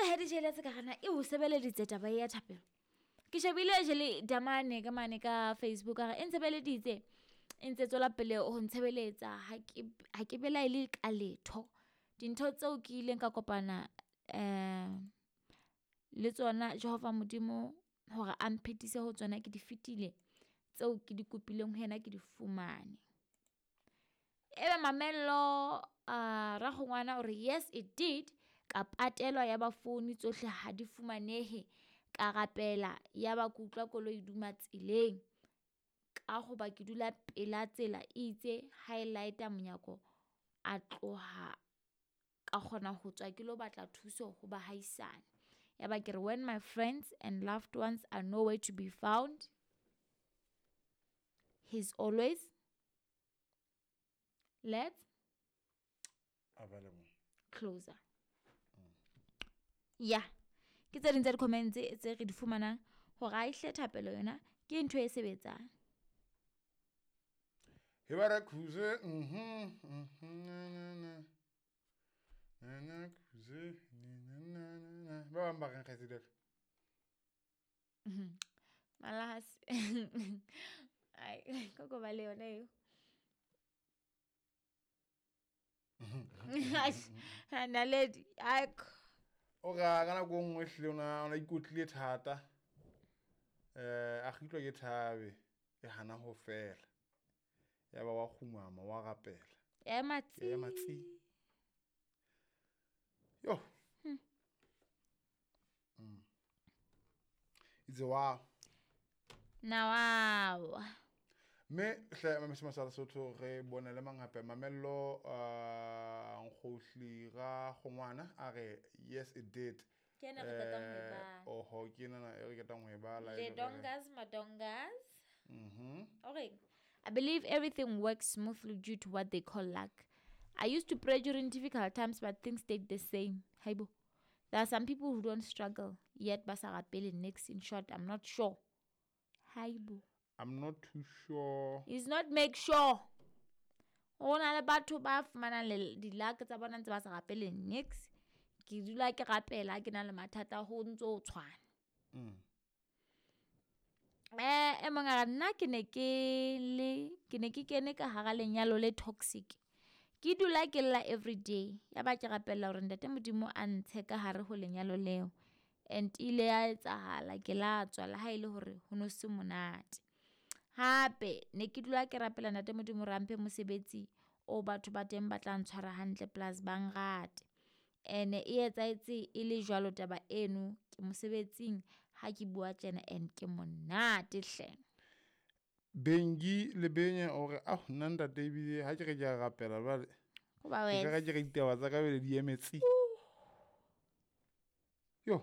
mpotse he dijele tse ka gana e o sebeleditse taba e ya thapelo ke shebile jele damane ka mane ka facebook a re e ntshebeleditse e ntse tswela pele ho ntshebeletsa ha ke belaele ka letho dintho tseo ke ileng ka kopana um le tsona Jehova Modimo hore a mphetise ho tsona ke di fetile tseo ke di kopileng ho yena ke di fumane. Ebe Mamello uh, Rakgongwana o re yes it did ka patelwa ya ba founu tsohle ha di fumanehe ka rapela ya ba ke utlwa koloi e duma tseleng ka hoba ke dula pela tsela e itse ha e lighta monyako a tloha ka kgona ho tswa ke lo batla thuso ho bahaisane ya ba ke re when my friends and loved ones are nowhere to be found he's always let's available closer ya ke tse ding tsa di-comments tse re di fumanang gore a ehle thapelo yona ke ntho e sebetsang. He ba re khuze mhm mhm na na na na na khuze na na na na ba bang ba reng kgaitsedi ka Malahasi ai koko ba le yona eo naledi aiko o ra ka nako e nngwe hlile o na o na ikotlile thata um a kgitlwa ke thabe e hana ho fela ya ba wa kgumama wa rapela ya ema tsi ya ema tsi yo mm. It's a wow. Na wow. Mme hle mamese masala Sotho re bone le mang hape Mamello uh, Nkgohli ga gongwana a re yes it did. Ke ena re qetang ho e bala. Oho ke ena e re qetang ho e bala. Le dongas madongas. Mhm. Okay. I believe everything works smoothly due to what they call luck. I used to pray during difficult times but things stayed the same. Haibo. There are some people who don't struggle yet ba sa rapele nix. In short, I'm not sure. Haibo. I'm not too sure. It's not make sure. Go na le batho ba fumanang di-luck tsa bona ntse ba sa rapele nix. Ke dula ke rapela ke na le mathata ho ntso o tshwana. Eh e mong a re nna ke ne ke le ke ne ke kene ka hara lenyalo le toxic. Ke dula ke lla everyday ya ba ke rapella hore ntate Modimo a ntshe ka hare ho lenyalo leo. And ile ya etsahala ke la tswa le ha ile hore ho no se monate. Hape ne ke dula ke rapela ntate Modimo hore a mphe mosebetsi o batho ba teng ba tla ntshwara hantle plus ba nrate. Ene e etsahetse e le jwalo taba eno ke mosebetsing ha ke bua tjena and ke monate hle. Bengi le Benye o re ah nna ntate ebile ha ke re ke a rapela jwale Go ba ke ka wena. ke re ditaba tsa ka bele di emetse. Yo.